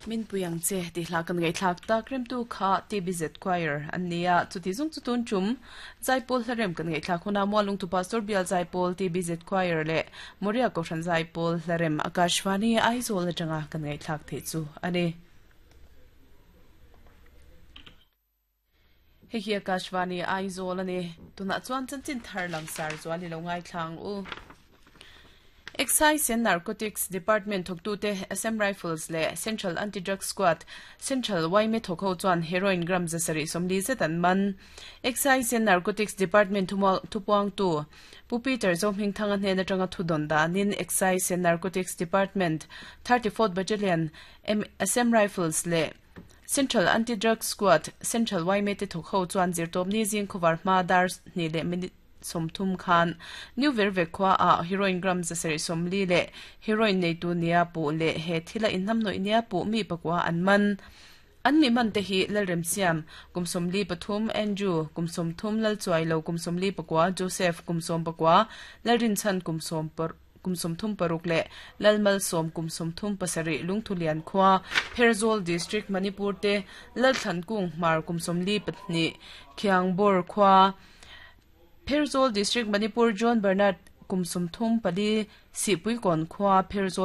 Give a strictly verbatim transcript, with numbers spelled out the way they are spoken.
Min puyang che ti hla kan ngai thlak tak rem tu kha T B Z Choir an nia. Chuti zung chu tun chum Zaipol hlarem kan ngai thlak huna Mualung tu Pastor Bial Zaipol T B Z Choir le Moria Kohhran Zaipol hlarem Akashvani Aizawl atanga kan ngai thlak the chu ani. Hei hi Akashvani Aizawl ani. Tuna chuan chanchin thar langsar chuan i lo ngai thlang u. Excise and Narcotics Department thawktute Assam Rifles leh Central Anti-Drug Squad, Central Y M A thawk ho chuan heroin gram zasarih sawmli zet an man. Excise and Narcotics Department thupuangtu Pu Peter Zohmingthanga hnen atanga thudawn danin Excise and Narcotics Department thirty fourth Battalion Assam Rifles leh Central Anti-Drug Squad, Central Y M A te thawk ho chuan zirtawpni zing khawvar hma dar hnih leh minute sawmthum khan New Verve khua ah heroin gram zasarih sawmli leh heroin neitu nia puh leh he thila inhnamhnawih nia puh mi pakua an man. An mi man te hi Lalremsiam kum sawmli pathum, Andrew kum sawmthum, Lalchuailo kum sawmli pakua, Joseph kum sawm pakua, Lalrinchhan kum sawm kum sawmthum paruk leh Lalmalsawm kum sawmthum pasarih Lungthulian khua Pherzawl District Manipur te, Lalthlankung Hmar kum sawmli pahnih Khiangbawr khua Pherzawl District Manipur, John Bernard kum sawmthum pali Sihpuikawn khua Pherzawl